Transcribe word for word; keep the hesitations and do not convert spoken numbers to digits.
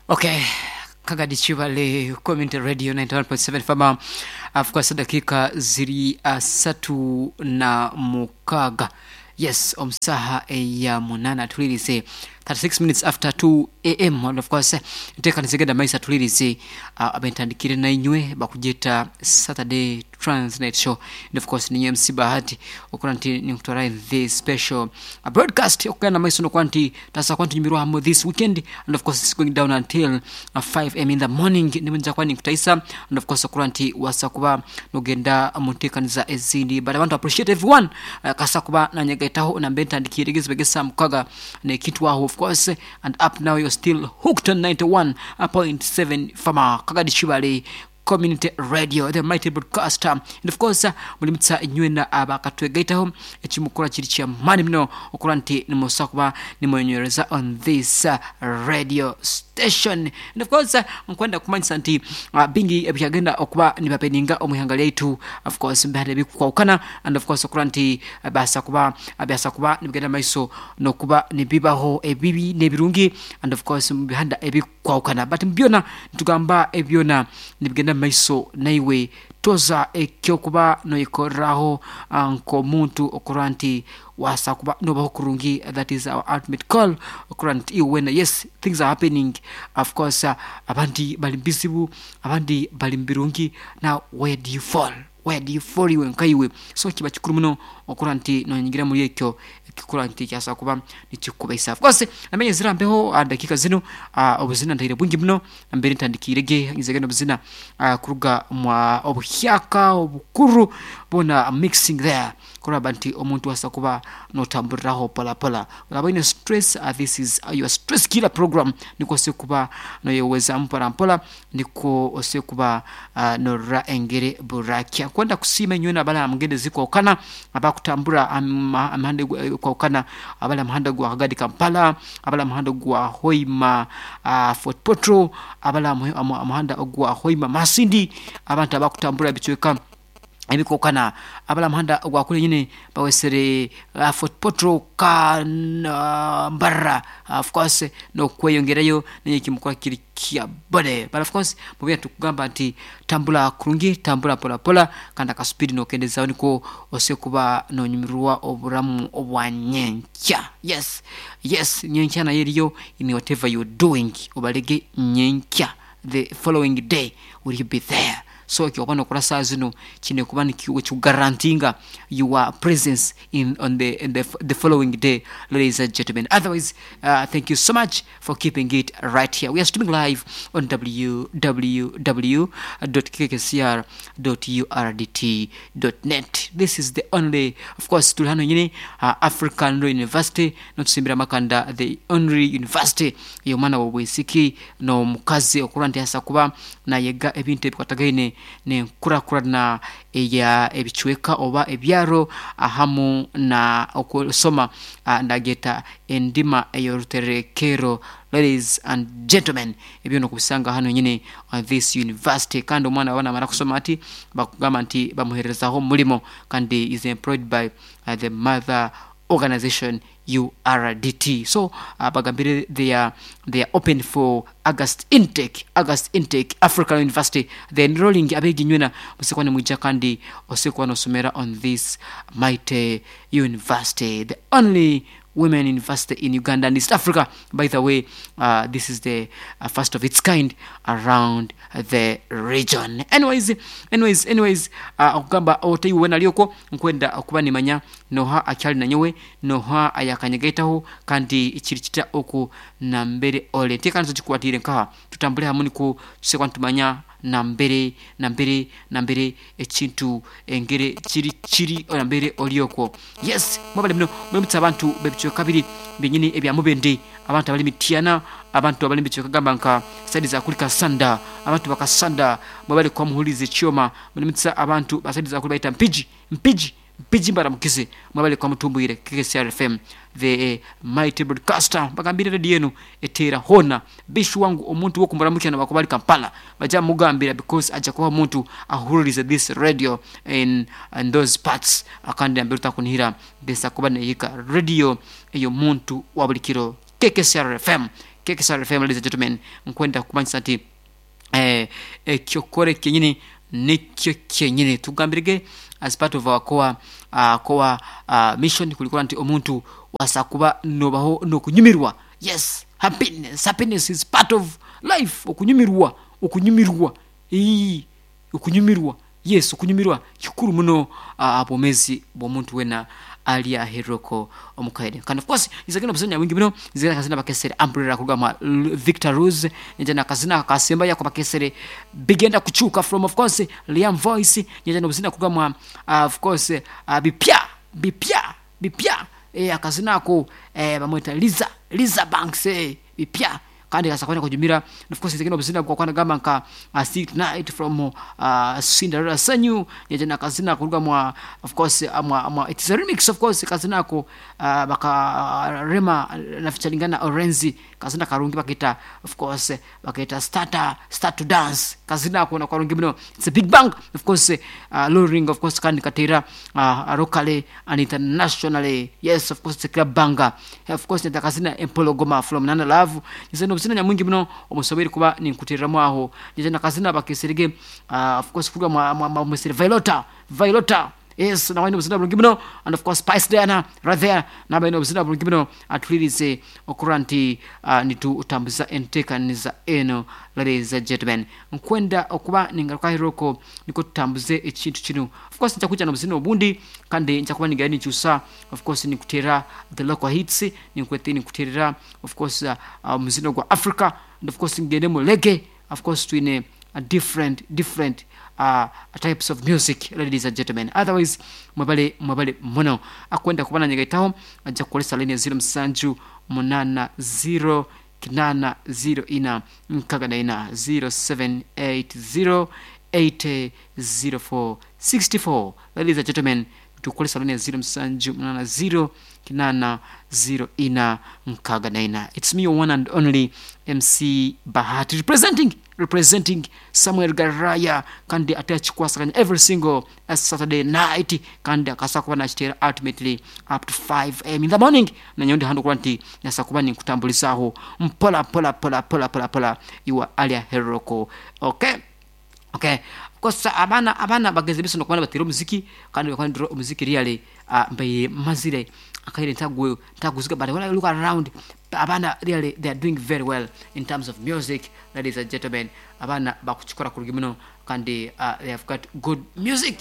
Okay, Kagadi Chibale Community Radio ninety-one point seven F M. Of course, dakika ziri asatu na mukaga. Yes, omusaha eya munana tulirize thirty-six minutes after two A M. And of course, nteka nizigenda maisa tulirize uh, abentandikire na inywe bakujeta Saturday Transnet Show. And of course, ni M C Bahati okora nti nikutwara in this special uh, broadcast okugenda maiso no kwanti tasa kwanti nyumirwa hamu this weekend. And of course, it's going down until uh, five A M in the morning. Nimenja kwani kutaisa. And of course, okora nti wasa kuba nogenda mutekaniza ezindi. But I want to appreciate everyone uh, kasa kuba na nyagaitaho na mbentandikire gizibegesa mukaga ne kitwaho. Of course, and up now you're still hooked on ninety-one point seven F M Kagadi Chibale Community Radio, the mighty broadcaster. And of course, mulimutsa nywena abakatwegaitaho ekimukora kiri kya mani mno okora nti nimusakuba nimwenyereza on this uh, radio station. And of course, nkwenda kumanyisa nti uh, bingi ebyagenda okuba nibapeninga omuhanga lyaitu. Of course, mbihande bikwaukana. And of course, okora nti uh, basa kuba byasa kuba nibigenda maiso nokuba nibibaho ebibi nebirungi. And of course, mbihanda ebikwaukana, but mbyona ntugamba ebyona nibigenda maiso naiwe toza ekyokuba noyikoraho nkomuntu okora nti wasa kuba nobaho kurungi. That is our ultimate call okora nti iwena. Yes, things are happening. Of course, uh, abandi bali bizibu, abandi bali mbirungi. Now where do you fall? Where do you fall iwe nkaiwe? So kiba kikuru muno okora nti nonyingira muri ekyo ekikora nti kyasa kuba nikikubaisa. Of course, namenye zirambeho dakika zino uh, obuzina ndaire bwingi muno mbere ntandikirege ngizege nobuzina uh, kuruga mwa obuhyaka obukuru bona mixing there kuraba nti omuntu wasa kuba notamburiraho pola pola olaba ine stress. uh, this is uh, your stress killer program niko se kuba noyeweza mpora mpola niko ose kuba uh, norra engere burakia kwenda kusima nywena bala mugende ziko okana abakutambura amahande kwa okana abala muhanda gwa Kagadi Kampala, abala muhanda gwa Hoima uh, Fort Potro, abala muhanda gwa Hoima Masindi, abantu abakutambura bichweka ebikokana abala muhanda gwa kule nyine bawesere uh, Fort Potro ka uh, Mbarara. Uh, of course no kweyongerayo nenye kimukora kiri kia bode. But of course mubya tukugamba nti tambula kurungi, tambula pola pola kanda ka speed no kendeza niko ose kuba no nyumirwa oburamu obwanyenkya. Yes, yes, nyenkya na yeriyo in whatever you're doing obalege nyenkya the following day will you be there. So ekyo okora saa zino kine kuba nikikugarantinga your presence in on the in the, the following day, ladies and gentlemen. Otherwise, uh, thank you so much for keeping it right here. We are streaming live on w w w dot k k c r dot u r d t dot net. This is the only, of course, tuli hano nyine uh, African Law University notusimbira makanda, the only university yomwana wobwisiki no mukazi okura nti hasa kuba nayega ebintu ebikwatagaine ne nkurakurana eya ebichweka oba ebyaro ahamu na okusoma uh, ndageta endima eyoruterekero. Ladies and gentlemen, ebyo nokubisanga hano nyine on this university. Kandi omwana wana mara kusoma ati bakugamba nti bamuherezaho mulimo kandi is employed by uh, the mother organization U R D T. So uh, bagambire they are they are open for August intake, August intake African University. They enrolling abegi nywena musekwane mwija kandi osekwa nosomera on this mighty university, the only women university in Uganda and East Africa. By the way, uh, this is the uh, first of its kind around the region. Anyways, anyways, anyways, uh, okugamba otaiwe nalioko nkwenda okuba nimanya noha akyali nanyowe noha ayakanyegaitaho kandi ikiri kita oku nambere ole tekanizo kikukwatire nkaha tutambule hamwe niko tusekwa ntumanya nambere nambere nambere ekintu engere kiri kiri nambere olioko. Yes, mwabale mno mulimutsa abantu bebichweka kabiri binyini ebya mubende, abantu abali mitiana, abantu abali bichweka gamba nka side za kulika sanda, abantu bakasanda mwabale kwa muhulize chioma mulimutsa abantu baside za kulika mpiji mpiji mpiji mbaramukize mwabale kwa mutumbwire K K C R F M the mighty broadcaster bagambire radio yenu etera hona bishu wangu omuntu wokumuramukia na bakubali Kampala baja mugambira because aja kuba omuntu ahuririze this radio in, in those parts akandi ambiruta kunihira besa kuba neyika radio eyo muntu wa buli kiro K K C R F M. K K S R F M. Ladies and gentlemen, nkwenda kumanyisa nti eh, ekyokore kyenyini nikyo kyenyini tugambirege as part of our core, uh, core uh, mission kulikuwa nti omuntu wasakuba nobaho nokunyumirwa. Yes, happiness happiness is part of life. Okunyumirwa, okunyumirwa, ii okunyumirwa, yes, okunyumirwa kikuru muno uh, bwomezi bw'omuntu wena ali aheroko omukaire. Kandi of course nizagenda obuzanya wingi muno, nizagenda kazina bakesere Umbrella kugama Victor Rose, nijana kazina kasemba yako bakesere bigenda kuchuka from of course Liam Voice, nijana obuzina kugama uh, of course uh, bipya bipya bipya eh, akazina ako eh, bamweta Liza Liza Banks, eh, bipya kandi kasakwenda kujumira. Of course zingine obuzina kwa kwana gamba nka uh, See Tonight from uh, Cinderella Sanyu, yajana kazina kuruga mwa of course uh, mwa, mwa it's a remix of course kazina ko uh, baka uh, Rema na featuringana Orenzi, kazina karungi bakita of course bakita starter start to dance, kazina ko na karungi muno. It's a big bang of course uh, luring of course kandi katera uh, locally and internationally. Yes, of course it's a club banger. Of course nita kazina Empologoma from Nana Love, nizeno obuzina nyamwingi muno omusobere kuba ninkutereramu aho, nizena kazina bakeserege uh, of course kuruga mwa, mwa, mwa mwesere Vailota Vailota. Yes, nawe obuzina bulungi muno. And of course Spice Diana right there, nawe obuzina bulungi muno. Atulirize okura nti uh, nitutambuza enteekaniza eno. Ladies and gentlemen, nkwenda okuba ningaruka niko tutambuze ekintu kino. Of course nja kujja n'obuzina obundi kandi nja kuba nigenda ninkyusa. Of course nikutera the local hits, ninkwete nikuterera of course uh, omuzino gwa Africa, and of course ngende mu reggae. Of course twine uh, different different uh, types of music, ladies and gentlemen. Otherwise mwebale mwebale muno akwenda kubana nyegaitaho ajja kukolesa line ya zero musanju munana zero kinana zero ina nkaga na ina, zero seven eight zero eight zero four sixty-four. Ladies and gentlemen, tukolesa line ya zero musanju munana zero kinana zero ina nkaga na ina. It's me, your one and only M C Bahati, representing representing Samuel Garaya, kandi ate akikwasaganya every single uh, Saturday night, kandi akasa kuba nakiteera ultimately up to five a m in the morning. Nanyondi hano kuba nti nasa kuba ninkutambulizaho mpola mpola pola pola pola pola iwa alia heroko. Okay okay kosa abaana abaana bagenze bisono kubana batera omuziki kandi bakwana omuziki really uh, mbaire mazire akaire ntagwe ntaguziga. But when I look around, abaana really they are doing very well in terms of music. Ladies and gentlemen, abaana bakukikora kurugi muno kandi uh, they have got good music.